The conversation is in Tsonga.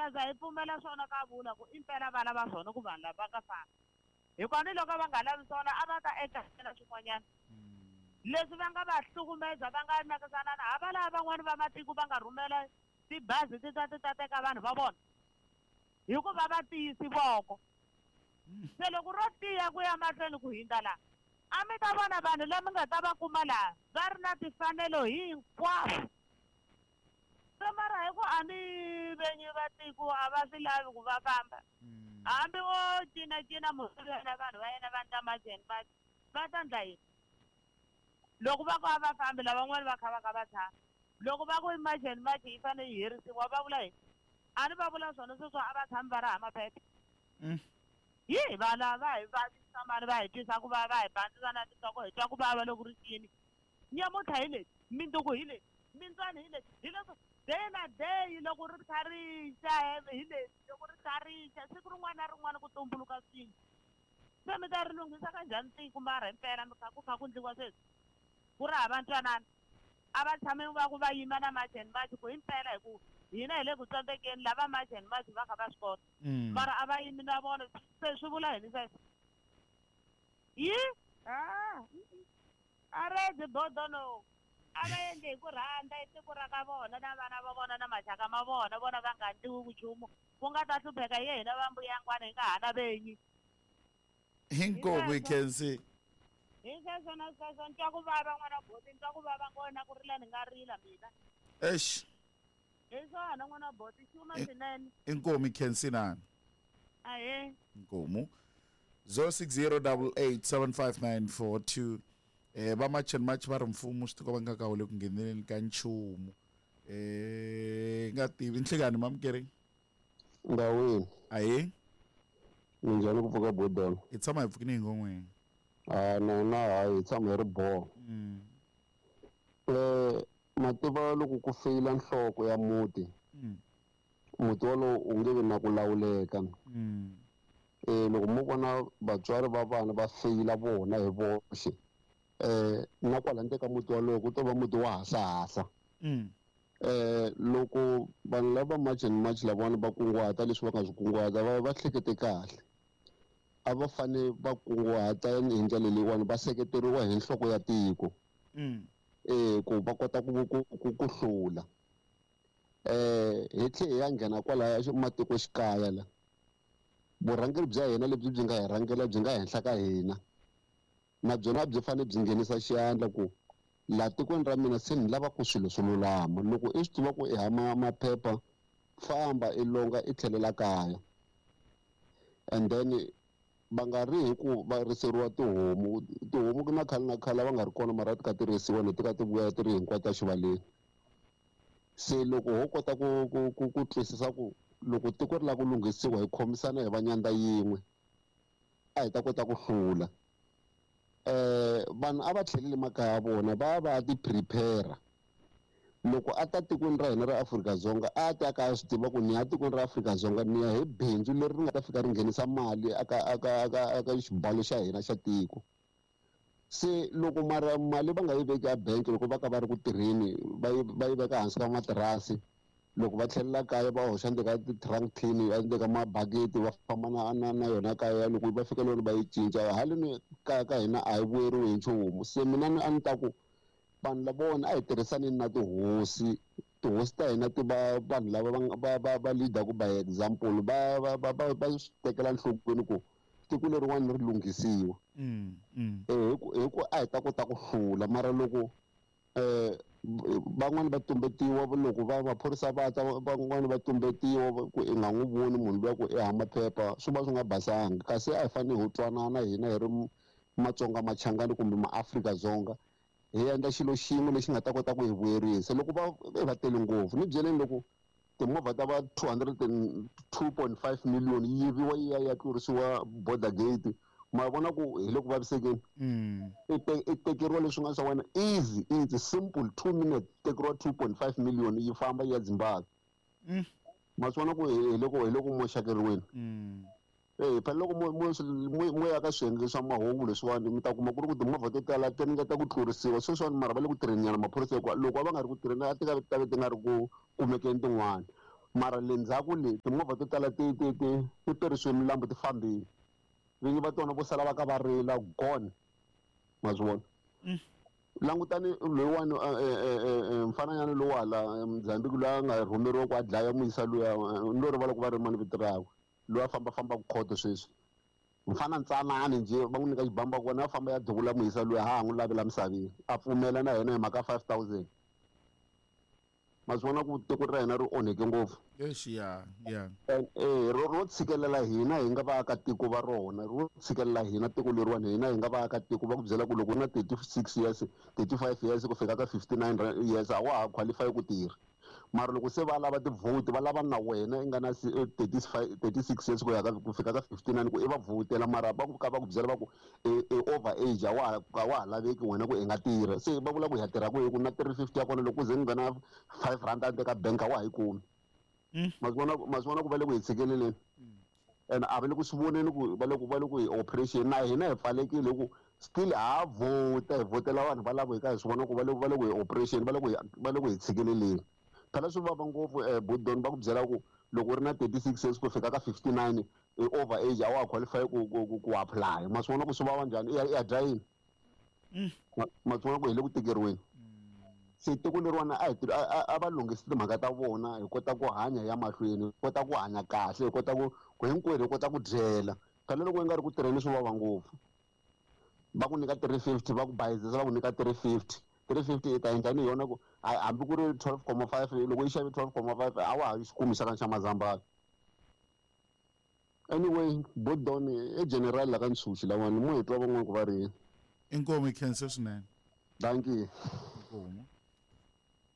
ta za hi pfumela swona ka vula ku impela va lava swona ku vanhu lava va nga fambi. Hikuva ni loko va nga lavi swona a va ta endla na swin'wanyana. Leswi va nga va hlukumeza va nga nakisanana hava lava van'wani va matiko va nga rhumela tibazi ti ta ti ta teka vanhu va vona hikuva va tiyisi voko. Se loko ro tiya ku ya mahlweni ku hindza laha a mi ta vona vanhu lami nga ta va kuma laha va ri na timfanelo hinkwavo. Se mara hi ku a ni venyi va tiko a va swi lavi ku va famba. Hambi wo cinacina munhu na vanhu va yena va ndla March and March va ta ndla yini? Loko va ku a va fambi lavan'wana va kha va ka va tshama. Loko va ku March and March yi fanele yi herisiwa va vula yini? A ni va vula swona sweswo a va tshami va ri hava maphepha. Hi va lava hi vavisa mani va hi twisa ku vava va hi bandzisa na tinhloko hi twa ku vava loko ri cini. Nyamuntlha hi leti, mindzuku hi leti, mintswani hi leti, hi leswo day na day loko ri kha ri xa hi leti, loko ri kha ri xa siku rin'wana na rin'wana ku tumbuluka swilo. Se mi ta ri lunghisa ka njhani tiko mara himpela mi kha ku kha ku ndliwa sweswi ku ri hava ntwanano. A va tshami va ku va yima na March and March ku himpela hi ku hina hi le ku tsandzekeni lava March and March va kha va swi kota. Mara a va yimi na vona se swi vula yini sweswo? Yi a a rezi bodo no a va endli hi ku rhandza i tiko ra ka vona na vana va vona na maxaka ma vona vona va nga ndliwi ku nchumu ku nga ta hlupheka hi hina va mbuyangwana hi nga ha na venyi. Inkomu ikhensi. Hi sweswo na sweswo ni twa ku vava n'wana boti ni twa ku vava ngona ku rila ni nga rila mina. Eish. Hi swona n'wana boti xuma swinene. Inkomu ikhensi nani. Ahee. Inkomu 0608875942 va March and March va ri mfumo swi tikomba nga ka wu le ku ngheneleni ka nchumu. Nga tivi nhlikani mamukeri. Ndawini. Ahee. Minjhani ku pfuka bodolo? Hi tshama hi pfukini hi ngon'weni. Ah na na hayi hi tshama hi ri boho. Mativa loko ku feyila nhloko ya muti. Muti wolowo u nge vi na ku lawuleka. Loko mo vona vatswari va vana va feyila vona hi voxe na kwala ndzeni ka muti wolowo ku to va muti wa hasahasa. Loko vanhu lava March and March lavawani va kunguhata leswi va nga swi kunguhata va va hlekete kahle. A va fane va kunguhata hi ndlela leyiwani va seketeriwa hi nhloko ya tiko. Ku va kota ku ku ku ku hlula. Hi tlhe hi ya nghena kwalaya matikoxikaya la. Vurhangeri bya hina lebyi byi nga hi rhangela byi nga henhla ka hina. Na byona byi fanele byi nghenisa xandla ku laha tikweni ra mina se ni lava ku swilo swi lulama. Loko i swi tiva ku i hama maphepha famba i longa i tlhelela kaya. And then va nga ri hi ku va riseriwa tihomu. Tihomu ku na khale na khale va nga ri kona mara ti kha ti risiwa ni ti kha ti vuya ti ri hinkwato exivaleni. Se loko ho kota ku ku ku ku twisisa ku loko tiko ri lava ku lunghisiwa hi khomisana hi va nyandza yin'we a hi ta kota ku hlula. Vanhu a va tlheleli makaya ya vona va va ti prepare. Loko a ta tikweni ra hina ra Afrika-Dzonga a ta ka a swi tiva ku ni ya tikweni ra Afrika-Dzonga ni ya hi bindzu leri ri nga ta fika ri nghenisa mali aka aka aka aka xibalo xa hina xa tiko. Se loko mara mali va nga yi veki a bank loko va ka va ri ku tirheni va yi va yi veka hansi ka matirasi loko va tlhelela kaya va hoxa ndzeni ka ti-trunk tin endzeni ka mabaketi va famba na na na yona kaya loko va fika loko va yi cinca haleni kaya ka hina a hi vuyeriwi hi nchumu. Se mina ni a ni ta ku vanhu lavawani a hi tirhisaneni na tihosi. Tihosi ta hina ti va vanhu lava va va va lead-aku by example va va va va va swi tekela enhlokweni ku tiko leriwani ri lunghisiwa. Hi ku a hi ta kota ku hlula mara loko van'wani va tumbetiwa loko va maphorisa va ta van'wani va tumbetiwa ku i nga n'wi voni munhu luya ku i hava maphepha swi va swi nga basanga kasi a hi fanele hi twanana hina hi ri Matsonga Machangani kumbe maAfrika-Dzonga hi endla xilo xin'we lexi nga ta kota ku hi vuyerisa loko va va tele ngopfu ni byeleni loko timovha ta va 202.5 million yi yiviwa yi ya ya tlurisiwa border gate ma vona ku hi le ku vavisekeni. I tekeriwa leswi nga swa wena easy easy simple 2 minutes tekeriwa 2.5 million yi famba yi ya Zimbabwe. Ma swi vona ku hi loko hi loko moxakeriweni. Phela loko mo mo mo ya ka swiyenge swa mahungu leswiwani mi ta kuma ku ri ku timovha to tala ti ringeta ku tlurisiwa sweswiwani mara va le ku tirheni nyana maphorisa hikuva loko va nga ri ku tirheni a ti ta ve ti nga ri ku kumekeni tin'wani. Mara le ndzhaku le timovha to tala ti ti ti ti tirhisiwe milambu ti fambile. Vinyi va tona vo sala va ka va rila gone. Ma swi vona? Langutani loyiwani mfananyana lowa la Mozambique loyi a nga rhumeriwa ku a dlaya muyisa luya, ni lo rivala ku va ri mani vito rakwe, loyi a fambafambaka khoto sweswi. Mfana ntsanani njhe va n'wi nyika xibamu va kona a famba ya duvula muyisa luya ha ha n'wi lavela misaveni, a pfumela na yena hi mhaka 5000. Ma swi vona ku tiko ra hina ri onheke ngopfu. Eish, ya ya. Ro ro tshikelela hina hi nga vaakatiko va rona, ro tshikelela hina tiko leriwani, hina hi nga vaakatiko. Va ku byela ku loko u na 36 years, 35 years ku fika ka 59 years a wa ha qualify ku tirha. Mara loko se va lava ti-vote va lava na wena i nga na 35, 36 years ku ya ka ku fika ka 59 ku i va vhotela, mara va ku ka va ku byela va ku i over age, a wa ha laveki wena ku i nga tirha. Se va vula ku hi ya tirha kwihi ku na 350 ya kona loko ku ze ni nghena 5 rand a ka bank a wa ha yi kumi. Ma swi vona ku va le ku hi tshikeleleni, and a va le ku swi voneni ku va le ku va le ku hi operation na hina hi pfalekile hi ku still ha vhota, hi vhotela vanhu valavo hi ka hi swi vona ku va le va le ku hi operation, va le ku hi va le ku hi tshikeleleni. Phela swi vava ngopfu Budon va ku byela ku loko u ri na 36 years ku fika ka 59 i over age, a wa ha qualify ku ku ku ku apply. Ma swi vona ku swi vava njhani? I ya dya yini? Ma swi vona ku hi le ku tikeriweni. Se tiko leriwani a hi a va lunghisi timhaka ta vona, hi kota ku hanya ya mahlweni, hi kota ku hanya kahle, hi kota ku ku hinkwerhu hi kota ku dyela. Phela loko i nga ri ku tirheni swi vava ngopfu. Va ku nyika 350, va ku bayizisa va ku nyika 350. 350 i ta endla ni yona ku hambi ku ri 12.5, loko yi xave 12.5 a wa ha yi xi kumi xa ka xa mazambhala. Anyway, Bodon i general la ka Ntshuxi lawani, mo hi twa van'wana ku va ri yini. Inkomu, hi khensa swinene. Dankie. Inkomu.